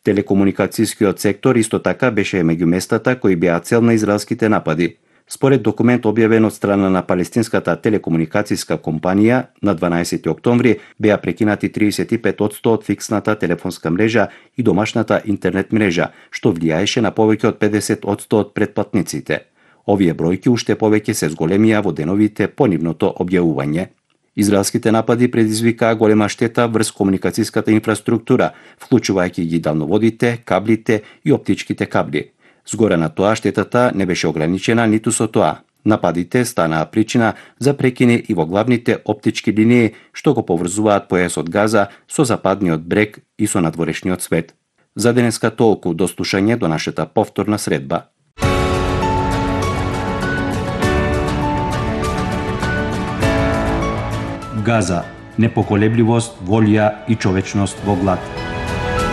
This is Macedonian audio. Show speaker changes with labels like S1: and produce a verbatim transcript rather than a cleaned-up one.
S1: Телекомуникацијскиот сектор исто така беше меѓу местата кои беа цел на израелските напади. Според документ објавен од страна на палестинската телекомуникацијска компанија, на дванаесети октомври беа прекинати триесет и пет одсто од фиксната телефонска мрежа и домашната интернет мрежа, што влијаеше на повеќе од педесет одсто од претплатниците. Овие бројки уште повеќе се зголемија во деновите по нивното објавување. Израелските напади предизвикаа голема штета врз комуникацијската инфраструктура, вклучувајќи ги далноводите, каблите и оптичките кабли. Згоре на тоа, штетата не беше ограничена ниту со тоа. Нападите станаа причина за прекини и во главните оптички линии што го поврзуваат појасот Газа со западниот брег и со надворешниот свет. За денеска толку, до слушање до нашата повторна средба. Газа, непоколебливост, волја и човечност во глад.